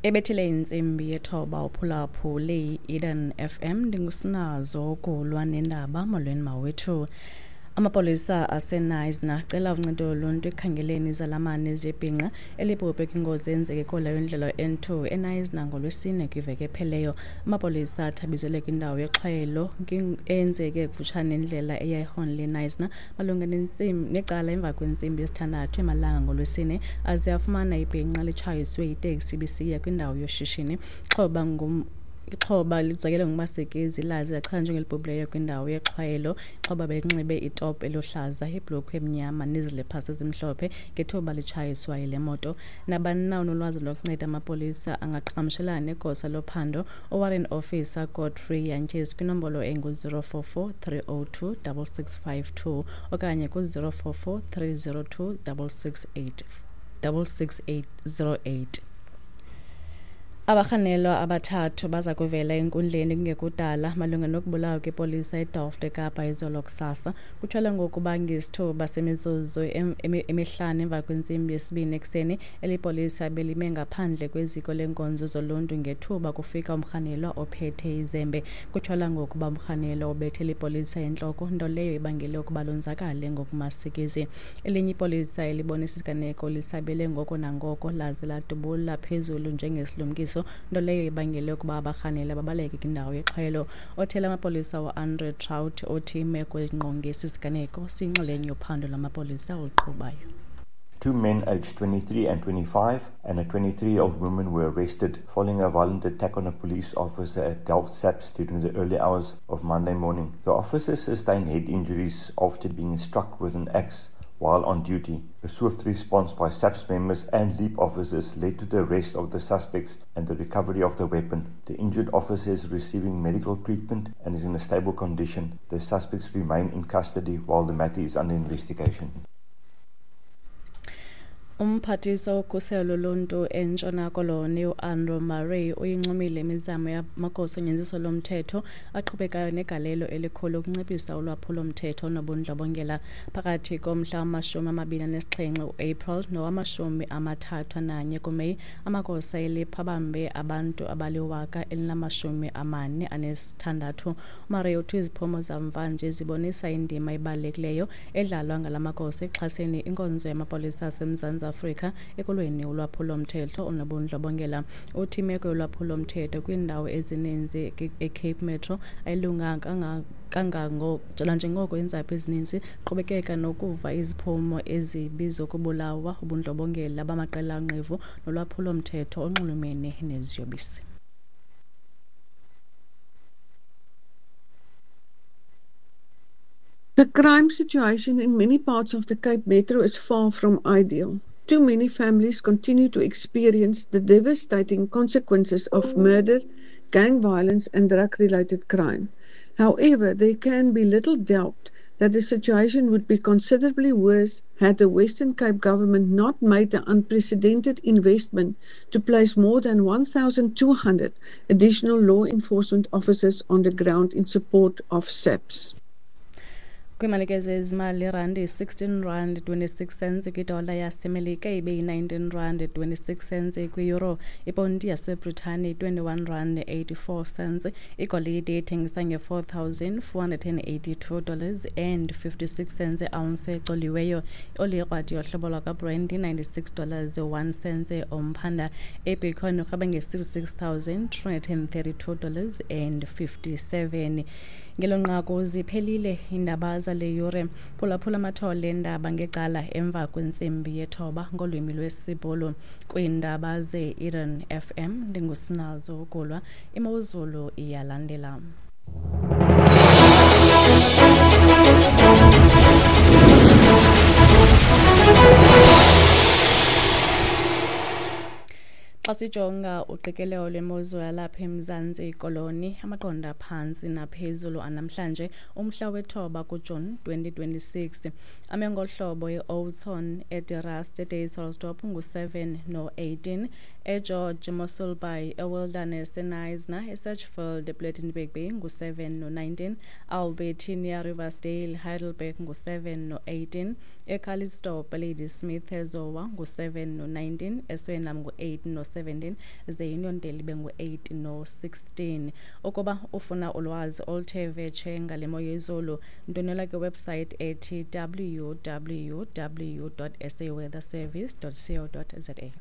Ebethile intsimbi yethoba uphulaphule i-Eden FM. Ndingusinazo kulwa nendaba. Molweni mawethu. Amapolisa aseNaisna acela uncedo loluntu ekukhangeleni izalamane zebhinqa elibhubhe kwingozi eyenzeke kola yendlela N2 eNaisna ngoLwesine kwiveki epheleyo. Amapolisa athabizelwe kwindawo yexhwayelo eyenzeke kufutshane nendlela eya eHornley eNaisna malunga necala emva kwentsimbi yesithandathu emalanga ngoLwesine, aze afumana ibhinqa litshayiswe yiteksi ibisiya kwindawo yoshishini. Ixhoba ixhoba lizakele ngumasikizi laze lachazwa njengelibhubhileyo kwindawo yexhwayelo. Ixhoba belinxibe itop eluhlaza, ibhlukhwe emnyama neziliphasi ezimhlophe ngethuba litshayiswa yile moto. Nabani na onolwazi lokunceda amapolisa angaqhagamshelana negosa lophando uWarrant Officer Godfrey Jantjies kwinombolo engu-044 302 6652 okanye ku-044 302 66808. Abarhanelwa abathathu baza kuvela enkundleni kungekudala malunga nokubulawa kwepolisa eDelft eKapa izolo kusasa. Kutyholwa ngokuba ngesithuba semizuzu emihlanu emva kwentsimbi yesibini ekuseni, eli polisa belime ngaphandle kweziko leenkonzo zoluntu ngethuba kufika umrhanelwa ophethe izembe. Kutyholwa ngokuba umrhanelwa ubethe eli polisa entloko, nto leyo ibangele ukuba lonzakale ngokumasikizi. Elinye ipolisa elibonisa isiganeko lisabele ngoko nangoko laze ladubula phezulu njengesilumkiso, nto leyo ibangele ukuba abarhanelwa babaleke kwindawo yexhwayelo. Othela amapolisa uAndre Traut uthi imeko ezingqonge esi siganeko siyinxalenye yophando lwamapolisa oluqhubayo. Two men aged 23 and 25 and a 23-year-old woman were arrested following a violent attack on a police officer at Delft SAPS during the early hours of Monday morning. The officer sustained head injuries after being struck with an axe while on duty. A swift response by SAPS members and LEAP officers led to the arrest of the suspects and the recovery of the weapon. The injured officer is receiving medical treatment and is in a stable condition. The suspects remain in custody while the matter is under investigation. Umphathiswa wokhuselo loluntu eNtshona Koloni uAndrew Murray uyincomile imizamo yamagosa onyanzeliso lomthetho aqhubekayo negalelo elikhulu ukunciphisa ulwaphulo-mthetho nobundlobongela. Phakathi komhla wama-27 uApril nowama-31 kuMeyi, amagosa eliphu abambe abantu abali-1046. UMurray uthi iziphumo zamvanje zibonisa indima ebalulekileyo edlalwa ngala magosa ekuxhaseni inkonzo yamapolisa aseMzantsi Afrika ekulweni ulwaphulo-mthetho onobundlobongela. Uthi imeko yolwaphulo-mthetho kwiindawo ezininzi eCape Metro ayilunganga kangango nanjengoko iintsapho ezininzi ziqhubekeka nokuva iziphumo ezibi zokubulawa, ubundlobongela bamaqela onqevu nolwaphulo-mthetho onxulumene neziyobisi. The crime situation in many parts of the Cape Metro is far from ideal. Too many families continue to experience the devastating consequences of murder, gang violence and drug-related crime. However, there can be little doubt that the situation would be considerably worse had the Western Cape government not made the unprecedented investment to place more than 1,200 additional law enforcement officers on the ground in support of SAPS. Kwiimalike zezimali, irandi yi-16 rand 26 cents kwidola yaseMelika, ibe yi-19 rand 26 cents kwi-euro. Iponti yaseBritane yi-21 rand 84 cents. Igolide ithengisa nge-$4,482 dollars and 56 cents iounce ecoliweyo. Ioli yekrwada yohlobo lwakwaBrent yi-96 dollars 1 cent umphanda. IBitcoin irhweba nge-$66,332 dollars and 57. Ngelo nqaku ziphelile iindaba zale yure. Phulaphula amathole eendaba ngecala emva kwentsimbi yethoba ngolwimi lwesiBhulu. Kwiindaba ze-Eden FM ndingusinazo Gulwa. Imozulu iyalandela. Xa sijonga uqikelelo lwemozulu yalapha eMzantsi Koloni, amaqondo aphantsi naphezulu anamhlanje umhla wethoba kuJuni 2026 ame ngohlobo: i-Oudtshoorn, eDe-Rust, eDysselsdorp ngu-7 no-18, eGeorge, Mossel Bay, eWilderness, eKnysna, eSedgefield, ePlettenberg Bay ngu-7 no-19, Albertinia, Riversdale, Heidelberg ngu-7no-18, eCalitzdorp, Ladysmith, eZowa ngu-7 no-19, eSwellnum ngu-8 no-7. no-17 ze Uniondale ibe ngu-8 no-16. Ukuba ufuna ulwazi oluthe vetshe ngale mo yezulu, ndwendwela kwiwebsite ethi www.saweatherservice.co.za.